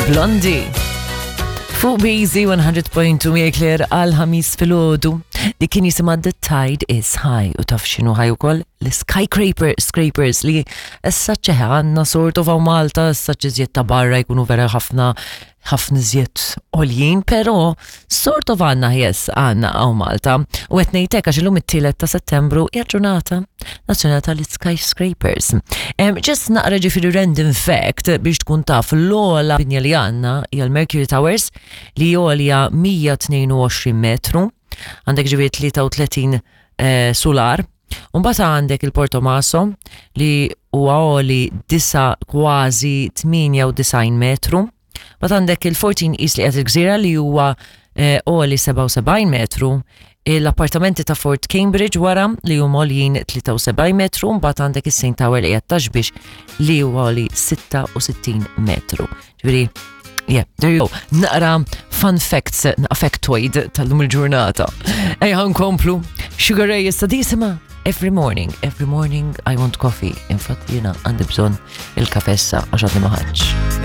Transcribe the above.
Blondie. Fuq Busy 100.2 miegħek Claire għal ħamis filgħodu li kien jisimha The Tide is High u taf x'inhu ħaj ukoll l-skyscraper scrapers li issa ċeħe għandna sort of hawn Malta issa ċiżjed ta' barra jkunu vera ħafna ħafna iżjed għoljin, però sort of għandna yes għandna hawn Malta. U qed ngħidlek għax illum it-tielet ta' Settembru hija ġurnata nazzjonali tal-skyscrapers. Just naqra ġifieri random fact biex tkun taf l-ogħla binja li għandna hija l-Mercury Towers li għolja 122 metru, għandek ġifieri 33 eh, solar. Umbagħad għandek il-Portomaso li huwa għoli disa kważi 98 metru. Mbagħad għandek il-14 East li qed il-gżira li huwa eh, għoli 77 metru. L-appartamenti ta' Fort Cambridge wara li huma għoljin 73 metru, mbagħad għandek is-Saint Tower li qed taxbix li huwa għoli 66 metru. Ġifieri, yeah, there you go. Naqra fun facts, naqra factoid tal-lum il-ġurnata. Ejja nkomplu. Sugar Ray issa disima. Every morning, every morning I want coffee. Infatti jiena għandi bżonn il-kafessa għax għadni ma ħadx.